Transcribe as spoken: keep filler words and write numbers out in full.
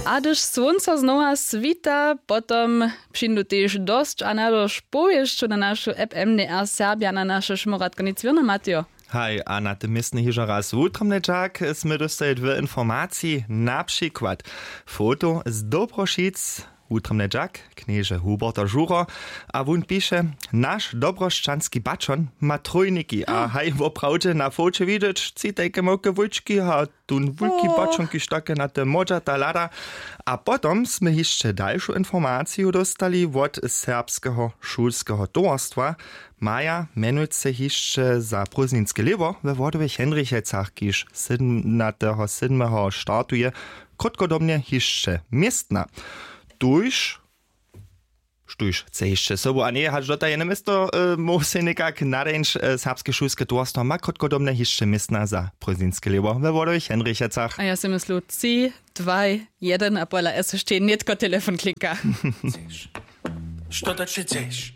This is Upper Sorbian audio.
A hdyž słónco znowa swita, potom přińdu tež dosć a nadošć powěsćow na našu app mdr serbja na naše šmoratko nic wěrno matejo. Haj, a na tym městnje hižo raz wutrobnje dźak smy dóstali dwě informaciji, na přikład foto z dobrošic. Wutrobnje dźak, knježe huberto žuro, a wón piše: Naš dobrosćanski baćon ma trójniki a haj woprawdźe na foće widźeć tři tajke małke wójčki a tón wulki baćon kiž take na te modźata hlada. A potom smy hišće dalšu informaciju dóstali wot serbskeho šulskeho towarstwa. Maja mjenujce hišće za prózdninske lěbo we wodowych henrichecach kiž sydomnateho sydmeho startuje krótkodobnje hišće městna. Tuž štóž chce hišće sobu a njeje hač dotajene město móhł sej někak nadeńć. Serbske šulske towarstwo ma krótkodobnje hišće městna za prózdninske lěbo we wodowych henrichecach. A ja sej myslu tři, dwaj, jeden a pola s štej nětko telefon klinka. Što to ći chceš?